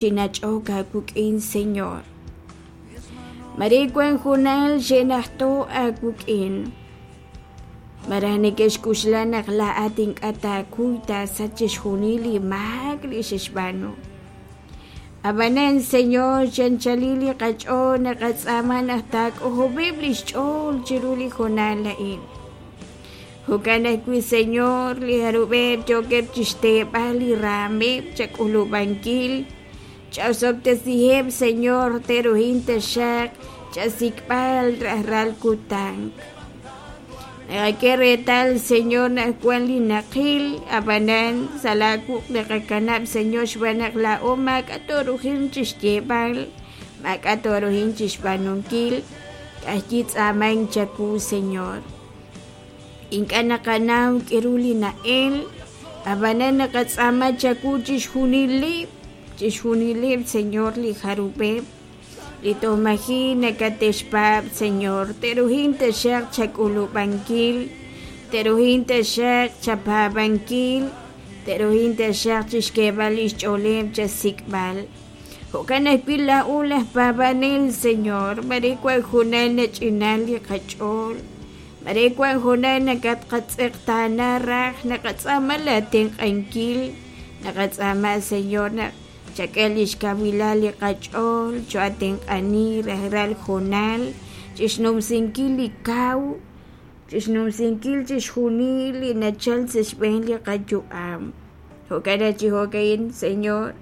Chi nach'ok aawik'in, Señor. Mare wank hoonal xe'najto' aawik'in, malaj neke'xk'oxla naq laa'at ink'a' taakuy taasach chixjunil li maak li xe'xb'aanu. Ab'anan, Señor, chi anchalil li qach'ool naqatz'aama naq taak'ojob'eb' li xch'ool chiru li hoonal a'in. Jo'kan ajwi', Señor, li jarub'eb' yookeb' chixteeb'al li raameb' chak'ulub'ankil, cha'osob'tesiheb', Señor, te'ruhin taxaq chasik'b'al rajlal kutan. Naqak'e reetal, Señor, naq wan li naqil, a'b'anan sa' laa wuq' naqakanab', Señor, xb'aan naq laa'o maak'a' tooruhin chixyeeb'al, maak'a' tooruhin chixb'aanunkil, ka'ajwi' tz'aamank chawu, Señor. Ink'a' naqanaw k'aru li na'el, ab'anan naqatz'aama chawu chixjunileb', chixjunileb', Señor, li jarub'eb' li toj maji' nakate'xpaab', Señor, te'ruhin taxaq chak'ulub'ankil, te'ruhin taxaq chapaab'ankil, te'ruhin taxaq chixk'eeb'al li xch'ooleb' chasik'b'al. Jo'kan ajwi' laa'o laj paab'anel, Señor, mare wank hoonal nach'inal li qach'ool, mare wank hoonal nakatqatz'eqtaana raj, naqatz'aama laatenq'ankil, naqatz'aama, Señor, naq chak'e li xkawilal li qach'ool, cho'atenq'ani rajlal hoonal chixnumsinkil li kaw, chixnumsinkil chixjunil li nachal sa' xb'een li qayu'am. Jo'kan chi jo'ka'in, Señor,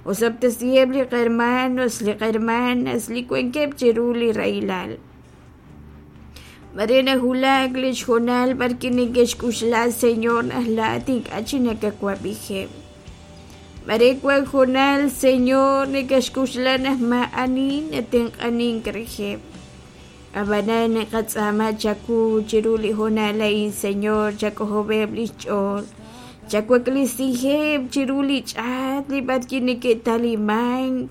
osob'tesiheb' li qahermanos, li qahermanas li wankeb' chiru li rahilal. Mare nawulak li xhoonal b'arwi' neke'xk'oxla, Señor, naq laa'at ink'a' chi nakawab'ijeb'. Mare wank hoonal, Señor, neke'xk'oxla naq maa'ani natenq'anink reheb'. Ab'anan naqatz'aama chawu chiru li hoonal a'in, Señor, chak'ojob'eb' li xch'ool, chawaklisiheb' chiru li ch'aat li b'arwi' neke'talimank,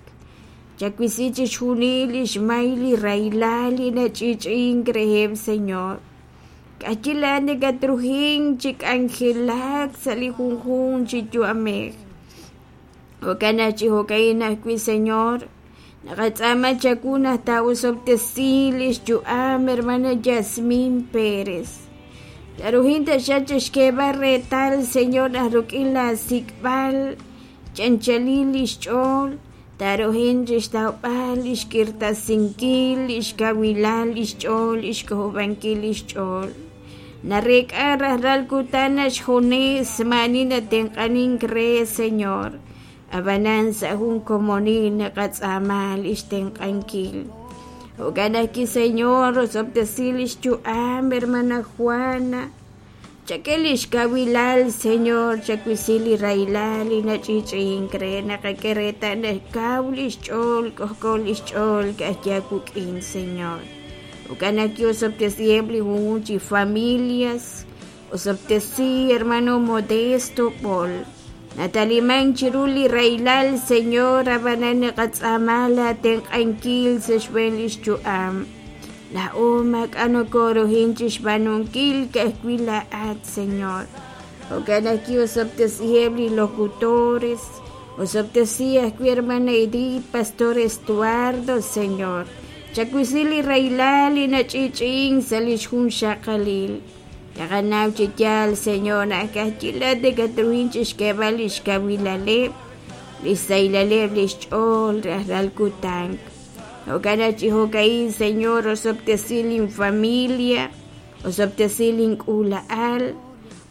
chawisi chixjunil li xmay li rahilal li nach'i'ch'i'ink reheb', Señor. K'ayi laa'at nakatruhink chi k'anjelak sa' li junjunq chi yu'amej. Jo'kan naq chi jo'ka'in ajwi', Señor, naqatz'aama chawu naq taa'osob'tesi li xyu'am hermana Yasmin Pérez. Taruhin taxaq chixk'eeb'al reetal, Señor, naq rik'in laasik'b'al chanchalil li xch'ool, taruhin chixtawb'al li xk'irtasinkil, li xkawilal li xch'ool, li xk'ojob'ankil li xch'ool. Nareek'a rajlal kutan naq xjunes maa'ani natenq'anink re, Señor. Ab'anan sa' jun komonil naqatz'aama li xtenq'ankil. Jo'kan ajwi', Señor, osob'tesi li xyu'am hermana Juana. Chak'e li xkawilal, Señor, chawisi li rahilal li nach'i'ch'i'ink re naqak'e reetal naq kaw li xch'ool, k'ojk'o li xch'ool ka'ajwi' aawik'in, Señor. Jo'kan ajwi' osob'tesiheb' li junjunq chi familias, osob'tesi hermano Modesto B'ol. Natalimank chiru li rahilal, Señor, ab'anan naqatz'aama laatenq'ankil sa' xb'een li xyu'am. Laa'o maak'a' nokooruhin chi xb'aanunkil ka'ajwi' laa'at, Señor. Jo'kan ajwi' osob'tesiheb' li locutores, osob'tesi ajwi' hermana Edith, Pastor Estuardo, Señor. Chawisi li rahilal li nach'i'ch'i'ink sa' li xjunxaqalil. Naqanaw chi yaal, Señor, naq ka'ajwi' laa'at nakatruhin chixk'eeb'al lix kawilaleb', lix sahilaleb' lix ch'ool rajlal kutan. Jo'kan naq chi jo'ka'in, Señor, osob'tesi lin familia, osob'tesi lin k'uula'al,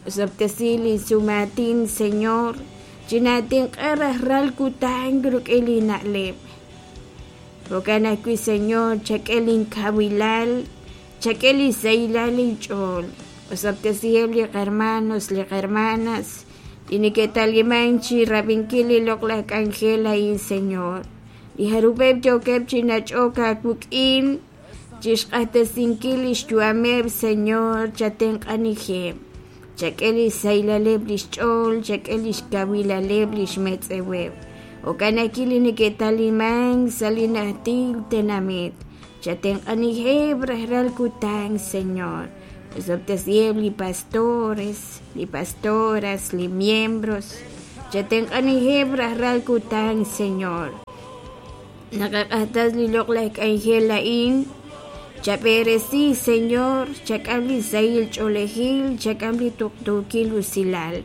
osob'tesi lin sumaatin, Señor, chinaatenq'a rajlal kutan rik'in li na'leb'. Jo'kan ajwi', Señor, chak'e lin kawilal, Chak'e li sahilal inch'ool. Osob'tesiheb' li qahermanos, li qahermanas, li neke'talimank chi rab'inkil li loq'laj k'anjel a'in, Señor. Li jarub'eb' yookeb' chi nach'ok aawik'in, chixq'axtesinkil lix yu'ameb', Señor, chatenq'anijeb'. Chak'e li xsahilaleb' lix ch'ool, chak'e lix kawilaleb' lix metz'eweb'. Jo'kan ajwi' li neke'talimank sa' li najtil tenamit. Chatenq'anijeb' rajlal kutan, Señor. Osob'tesiheb' li pastores, li pastoras, li miembros. Chatenq'aniheb' rajlal kutan, Señor. Naqaq'axtes li loq'laj k'anjel a'in. Chab'eresi, Señor, chak'am li sahil ch'oolejil, chak'am li tuqtuukil usilal.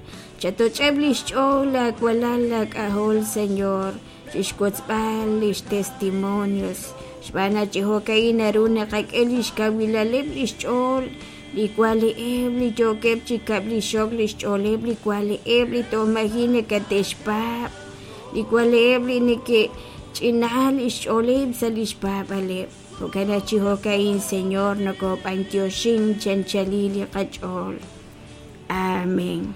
Chatoch'eb' li xch'ool laawalal laak'ajol, Señor, chixwotzb'al lix testimonios. Xb'aan naq chi jo'ka'in naru naqak'e lix kawilaleb' lix ch'ool li wali'eb' li yookeb' chi kab'lixok lix ch'ooleb' li wali'eb' li toj maji' nakate'xpaab', li wali'eb' li neke'ch'ina lix ch'ooleb' sa' lix paab'aleb'. Jo'kan naq chi jo'ka'in, Señor, nokob'antioxin chi anchalil li qach'ool. Amén.